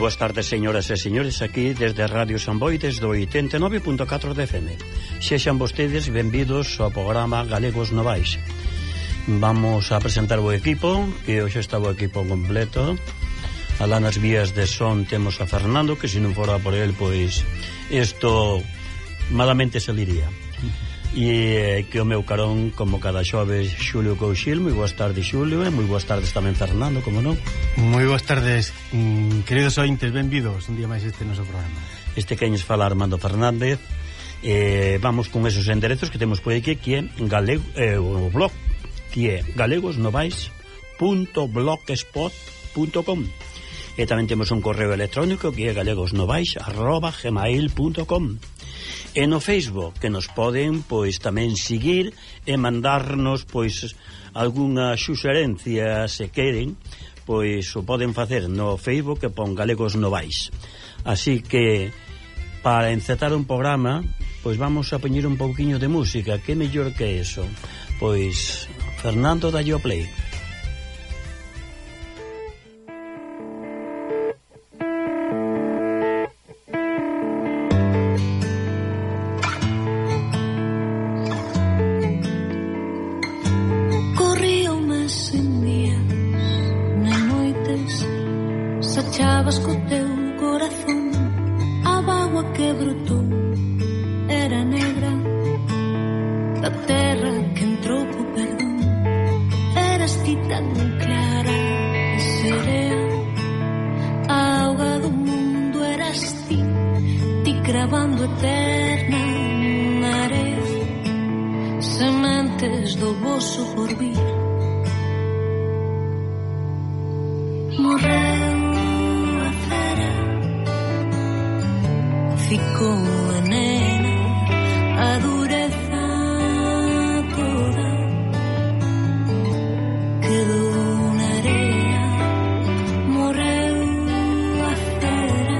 boas tardes, señoras e señores, aquí desde Radio Samboy, desde o 89.4 de FM. Sexan vostedes benvidos ao programa Galegos Novais. Vamos a presentar o equipo, que hoxe está o equipo completo. Alá nas vías de son temos a Fernando, que se non fora por él, pois isto malamente saliría. E que o meu carón, como cada xoves, Xulio Couchil. Moi boas tardes, Xulio, e moi boas tardes tamén Fernando, como non? Moi boas tardes, queridos ointes, benvidos un día máis este noso programa. Este queñes fala Armando Fernández. Vamos con esos enderezos que temos por aquí, que é o blog, que é galegosnovais.blogspot.com. E tamén temos un correo electrónico que é galegosnovais@gmail.com. E no Facebook, que nos poden pois tamén seguir e mandarnos pois algunha suxerencia se queren, pois o poden facer no Facebook, que pon Galegos Novais. Así que para encetar un programa, pois vamos a poñer un pouquiño de música. Que mellor que eso? Pois Fernando, dalle o play. Sachabas co teu corazón, a bagua que brotou era negra, da terra que entrou co perdón. Eras ti tan clara e serea, a auga do mundo eras ti, ti cravando eterna na area, sementes do voso porvir. Morreu ficou a nena, a dureza toda quedou na area, morreu a cera,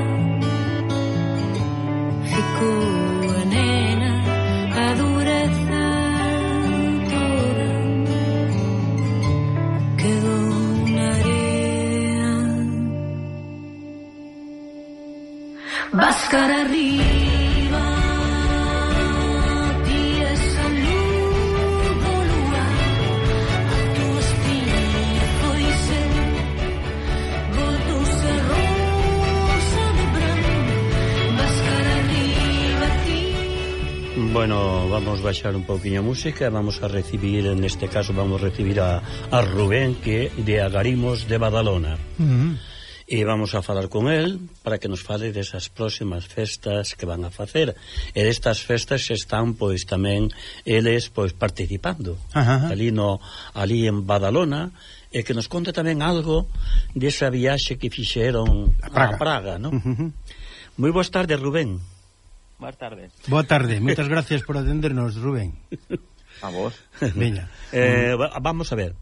ficou a nena, a dureza toda quedou na area. Vas cara arriba, ti esa luz do luar, a tua espinha foi ser, voltouse rosa de branco. Vas cara arriba, ti. Bueno, vamos baixar un pouquiño a música. Vamos a recibir, neste caso vamos a recibir a Rubén, que é de Agarimos de Badalona. E vamos a falar con el para que nos fale desas próximas festas que van a facer. E destas festas están pois tamén eles pois participando ali en Badalona, e que nos conte tamén algo desa viaxe que fixeron a Praga, non? Moi boas tardes, Rubén. Boas tardes. Boa tarde, moitas gracias por atendernos, Rubén. A vos. Veña. Vamos a ver.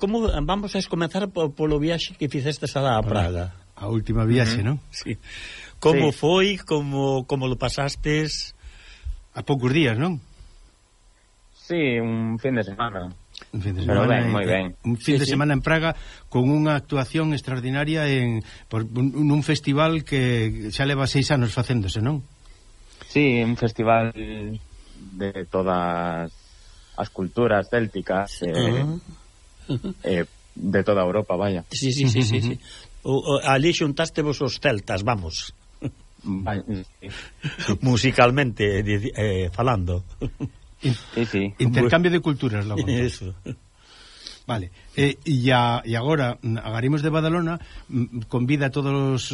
Como vamos a comenzar polo viaxe que fixestes a Praga? A última viaxe, non? Sí. Como foi? Como lo pasastes? A poucos días, non? Sí, un fin de semana. Un fin de Pero semana, ben, moi ben. Un fin de semana en Praga con unha actuación extraordinaria nun festival que xa leva 6 anos facéndose, non? Sí, un festival de todas as culturas célticas, de toda Europa, vaya. Sí. Ali xuntaste vos os celtas, vamos. Sí. Musicalmente falando. Sí. Intercambio de culturas, logo. Eso. Vale. E agora Agarimos de Badalona convida a todos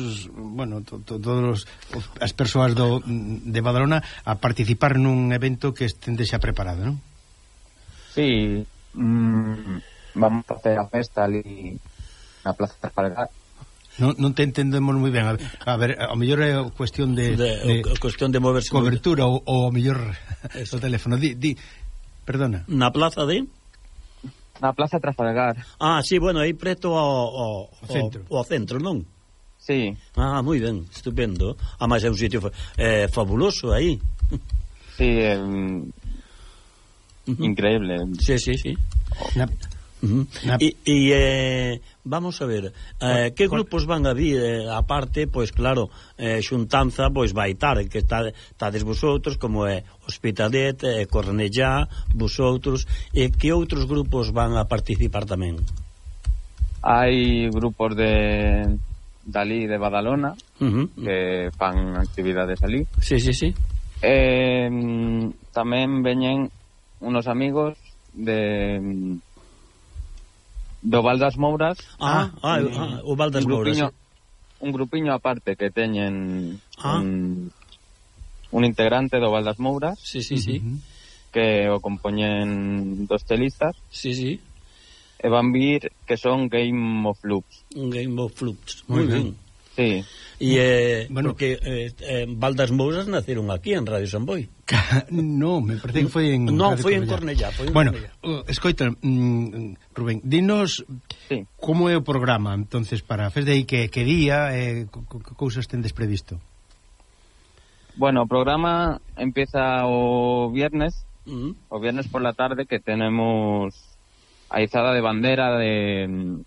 as persoas de Badalona a participar nun evento que estende xa preparado, non? Sí. Vamos a facer a festa ali na Plaza Trafalgar. Non te entendemos moi ben. A ver, ao mellor é cuestión de cuestión de moverse cobertura ou ao mellor o teléfono. Perdona. Na plaza de? Na Plaza Trafalgar. Ah, sí, bueno, aí preto ao centro, non? Sí. Ah, moi ben, estupendo. Ah, mas é un sitio fabuloso aí. Sí, increíble. Sí. Vamos a ver, que grupos van a vir aparte, pois claro, xuntanza pois vai estar, que estades vosotros, como é Hospitalet, Cornellá, vosotros, e que outros grupos van a participar tamén? Hai grupos dali de Badalona que fan actividades ali. Sí. Tamén veñen unos amigos do Val das Mouras. O Val das Mouras. Un grupiño aparte que teñen un integrante do Val das Mouras. Sí. Que o compoñen dos telistas. Sí. E van vir que son Game of Loops. Game of Loops, moi ben. Sí. E porque Val das Mouras naceron aquí en Radio San Boi. No, me parece que foi en foi en Cornellá. Bueno, escoita, Rubén, dinos como é o programa entonces para fes de aí que día cousas tendes previsto. Bueno, o programa empieza o viernes por la tarde, que tenemos a izada de bandera de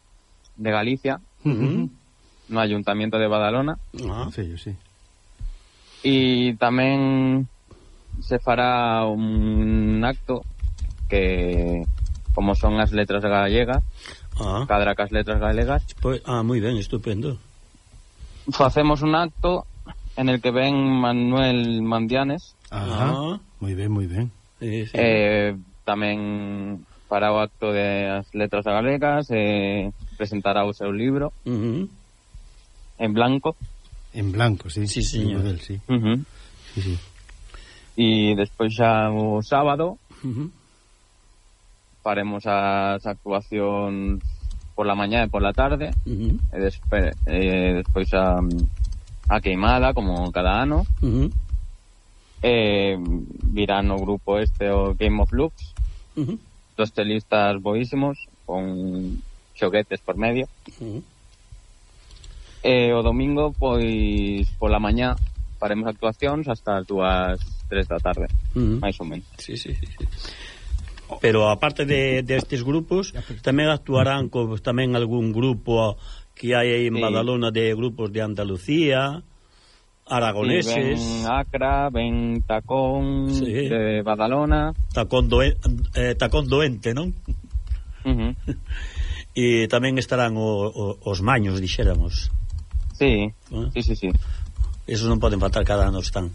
Galicia no Ayuntamiento de Badalona. Sí. E tamén se fará un acto que, como son as letras galegas, cadra cas letras galegas, pues, moi ben, estupendo. Facemos un acto en el que ven Manuel Mandianes. Moi ben. Sí. Tamén fará o acto de as letras galegas, presentará o seu libro en blanco. En blanco, sí. Sí, señor. Model, sí. Sí. E despois xa o sábado faremos as actuacións por la mañá e por la tarde, e despois a queimada, como cada ano. Virán o grupo o Game of Loops, dos telistas boísimos con xoguetes por medio. O domingo, pois, pola mañá faremos actuacións hasta as 2-3 da tarde, máis ou menos. Sí. Pero aparte destes grupos, tamén actuarán tamén algún grupo que hai aí en Badalona, de grupos de Andalucía, aragoneses. Sí, ven Acra, ven Tacón de Badalona. Tacón doente, non? E tamén estarán os maños, dixéramos. Sí. Esos non poden faltar, cada ano están.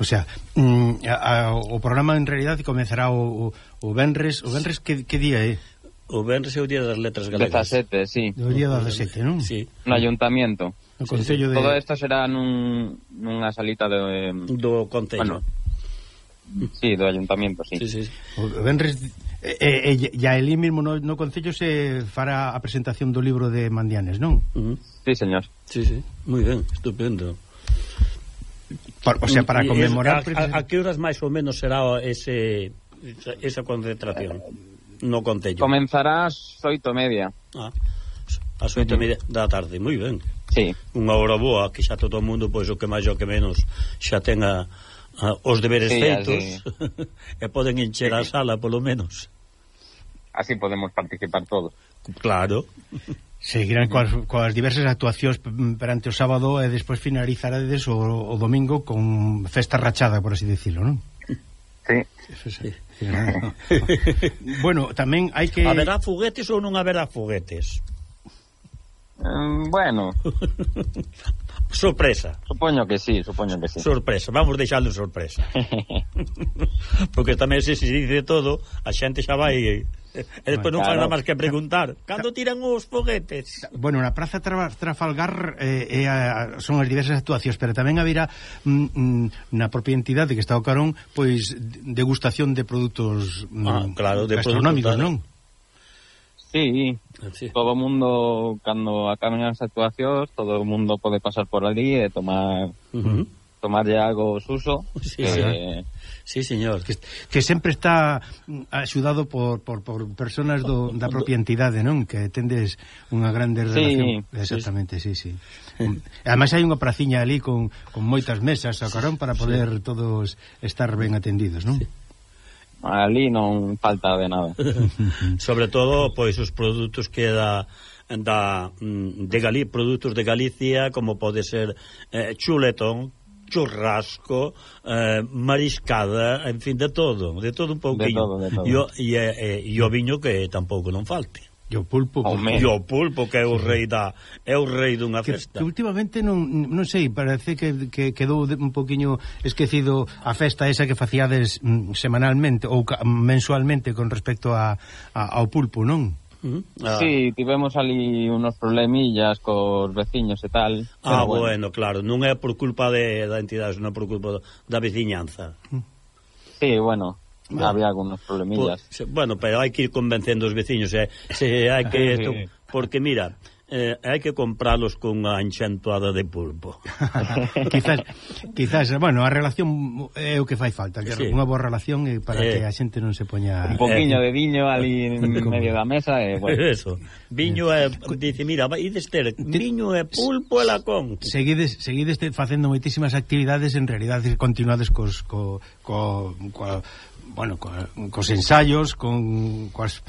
O sea, o programa en realidad comezará o venres. O venres que día é? O venres é o día das letras galegas. 17, sí. O día 17, non? Sí. No Ayuntamiento. No Concello de... Todo isto será nunha salita do Concello. Bueno, sí, do Ayuntamiento, sí. O venres... ya elí mesmo no Concello se fará a presentación do libro de Mandianes, non? Sí, señor. Sí, moi ben, estupendo. O sea, para conmemorar... A que horas máis ou menos será esa concentración no Concello? Comenzará ás 8:30. Ás 8:30 da tarde, moi ben. Sí. Unha hora boa, que xa todo o mundo, pois o que máis o que menos xa tenga os deberes feitos e poden encher a sala, polo menos. Así podemos participar todos. Claro. Seguirán coas diversas actuacións perante o sábado e despois finalizarades o domingo con festa rachada, por así decirlo, non? Sí. Bueno, tamén hai que... Haberá foguetes ou non haberá foguetes? Bueno, sorpresa. Supoño que sí. Sorpresa, vamos deixarlo en sorpresa. Porque tamén se dice todo, a xente xa vai e despois non fai nada máis que preguntar cando tiran os foguetes. Bueno, na Praza Trafalgar son as diversas actuacións, pero tamén haberá na propia entidade que está o carón, pois degustación de produtos claro, de gastronómicos, non? Sí, todo o mundo, cando acaben as actuacións, todo o mundo pode pasar por ali e tomarlle algo suso. Sí, señor. Que sempre está axudado por personas da propia entidade, non? Que tendes unha grande relación. Exactamente, sí. Ademais hai unha praciña ali con moitas mesas a carón para poder todos estar ben atendidos, non? ali non falta de nada. Sobre todo, pois, os produtos que produtos de Galicia, como pode ser chuletón, churrasco, mariscada, en fin, de todo un pouquinho. E o viño que tampouco non falte. E o pulpo, que é o rei dunha festa. Que últimamente non sei, parece que quedou un poquinho esquecido a festa esa que facíades semanalmente ou mensualmente con respecto ao pulpo, non? Sí, tivemos ali unos problemillas cos veciños e tal. Bueno, claro, non é por culpa da entidade, non é por culpa da veciñanza. Sí, bueno, había algunos problemillas. Bueno, pero hai que ir convencendo os veciños, hai que porque mira, hai que compralos con unha enxantoada de pulpo. quizás, bueno, a relación é o que fai falta, que unha boa relación para que a xente non se poña un poquinho de viño ali en medio da mesa e bueno. Eso. Viño dice, mira, ides ter viño e pulpo e lacón. Seguides facendo moitísimas actividades, en realidade continuades cos ensaios, coas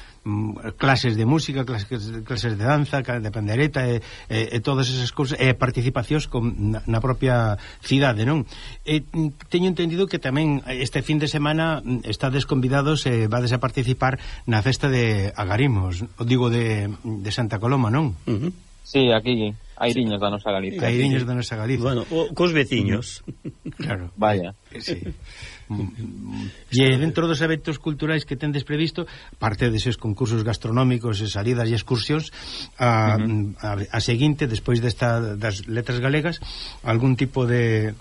clases de música, clases de danza, de pandereta e todas esas cousas, e participacións na propia cidade, non? Teño entendido que tamén este fin de semana estades convidados e vades a participar na festa de Agarimos, digo de Santa Coloma, non? Sí, aquí Airiños da nosa Galicia. Airiños da nosa Galicia. Bueno, cos veciños. Claro. Vaya. Sí. E dentro dos eventos culturais que tendes previsto, parte deses concursos gastronómicos e salidas e excursións, a seguinte, despois das letras galegas, algún tipo de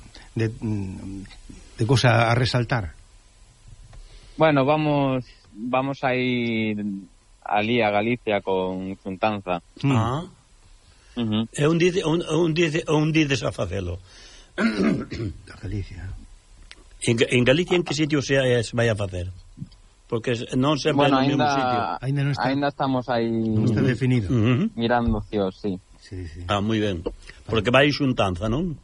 cosa a resaltar? Bueno, vamos a ir ali a Galicia con Xuntanza. É un dices a facelo. A Galicia. En Galicia en que sitio se vai a facer? Porque non sempre no mesmo sitio. Ainda estamos aí. Non está definido. Mirando cios, sí. Moi ben. Porque vai Xuntanza, non?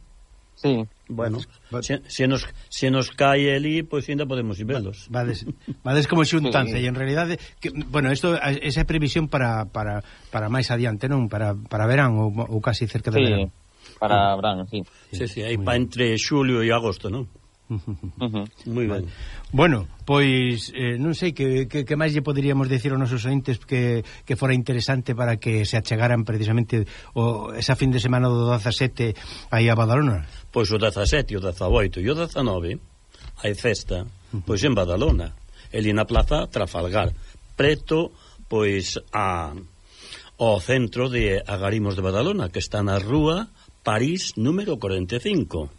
Sí. Bueno, se nos cae ali, pois ainda podemos ir velos. Vades como Xuntanza, e en realidade bueno, esa é previsión para máis adiante, non? Para verán ou casi cerca de verán. Para verán, sí. Sí, aí para entre xulio e agosto, non? Moi ben. Bueno, pois non sei que máis lle poderíamos decir aos nosos ointes que fora interesante para que se achegaran precisamente esa fin de semana do 17 aí a Badalona. Pois o 17, o 18 e o 19 hai festa, pois en Badalona, ali na plaza Trafalgar, preto pois ao centro de Agarimos de Badalona, que está na rúa París número 45.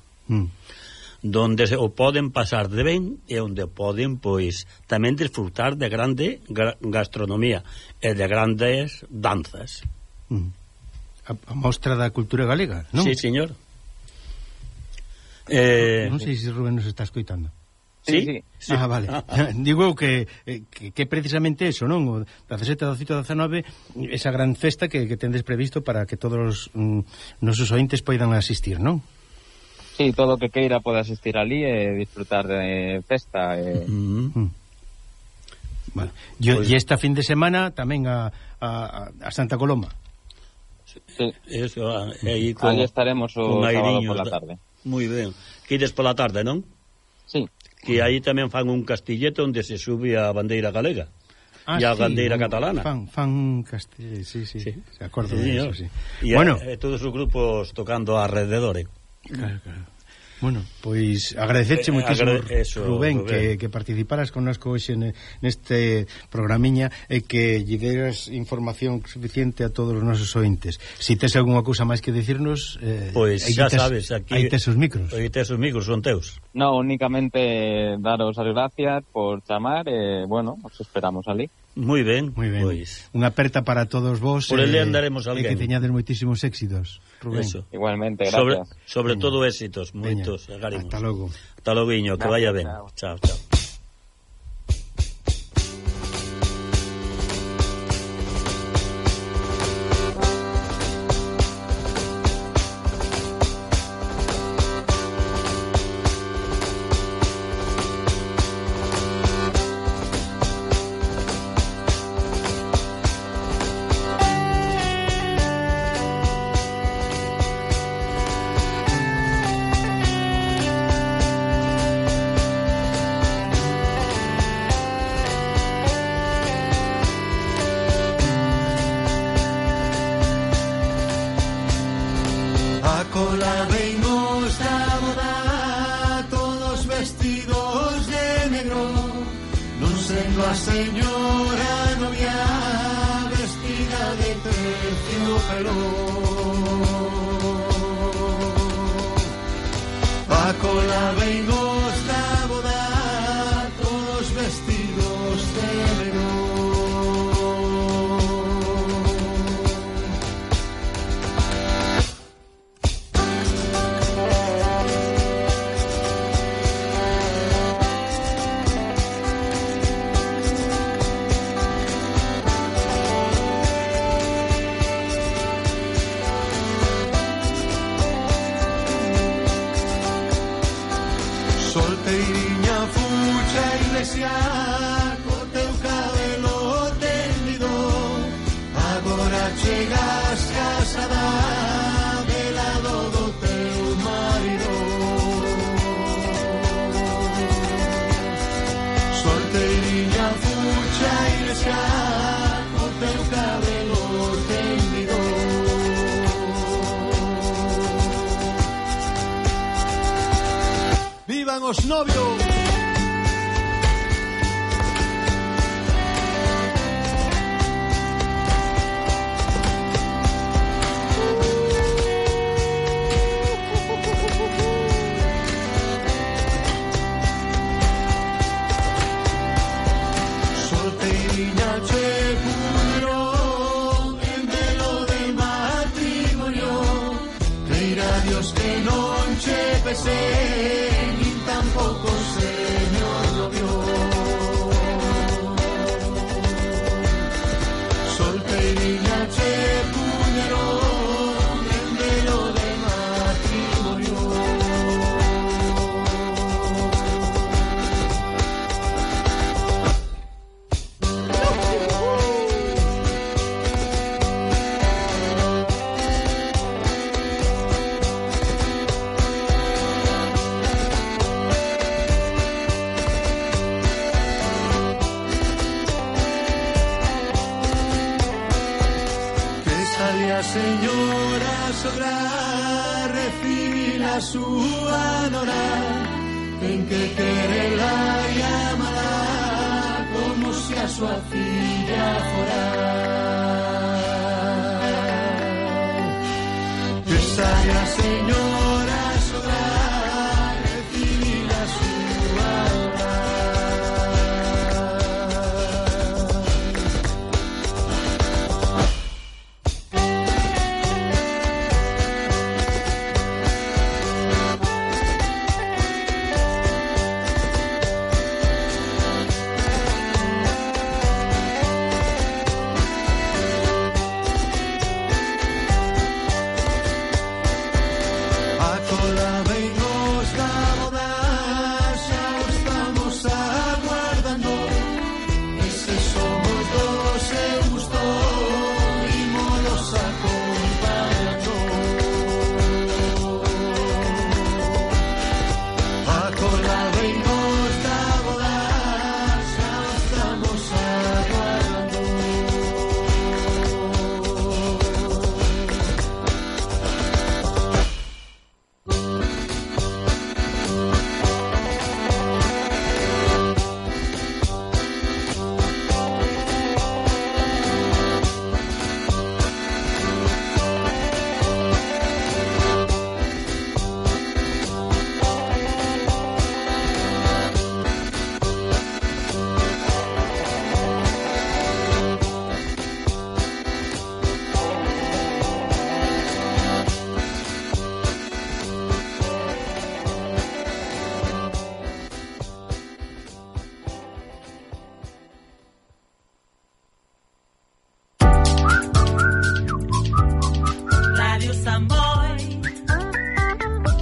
Donde o poden pasar de ben e onde poden, pois, tamén disfrutar de grande gastronomía e de grandes danzas. A mostra da cultura galega, non? Sí, señor. Non sei se Rubén nos está escoitando. Sí. Vale. Digo que precisamente eso, non? O 17, 18, 19, esa gran festa que tendes previsto para que todos os nosos ointes poidan asistir, non? Sí, todo o que queira pode asistir ali e disfrutar de festa. Vale. E esta fin de semana tamén a Santa Coloma. Sí. Eso, aí ali estaremos o sábado pola tarde. Moi ben. Que ides pola tarde, non? Sí. Que aí tamén fan un castillete onde se sube a bandeira galega e a bandeira catalana. Fan castillete, sí. Se acordo de eso, sí. E bueno, todos os grupos tocando alrededor. Claro. Bueno, pois agradecerche moitísimo, Rubén, que participaras connosco hoxe neste programiña e que lle deras información suficiente a todos os nosos ointes. Se tes algunha cousa máis que dicirnos, pois xa sabes, aquí aí tes os micros. Aí tes os micros, son teus. No, únicamente daros as gracias por chamar e, bueno, os esperamos ali. Moi ben. Pois unha aperta para todos vos. Por ele andaremos alguén. E que teñades moitísimos éxitos, Rubén. Eso. Igualmente, gracias. Sobre todo éxitos, moitos. Hasta logo. Hasta logo, que vaya ben. Chao. a señora novia vestida de terciopelo. Paco la veinos da boda, todos vestidos de verón. Solteiriña fucha iglesia, co teu cabelo tendido, agora chegas casada de lado do teu marido. Solteiriña fucha iglesia, co teu cabelo tendido. ¡Vivan os novios! Solteiriña che puño en velo de matrimonio, creirá Dios que non che pese tampoco señor novio. Solteiriña che puñerón en velo de matrimonio. Señora sogra recibir a súa nora, ten que querela e amala como se a súa filla fora. Que saia señora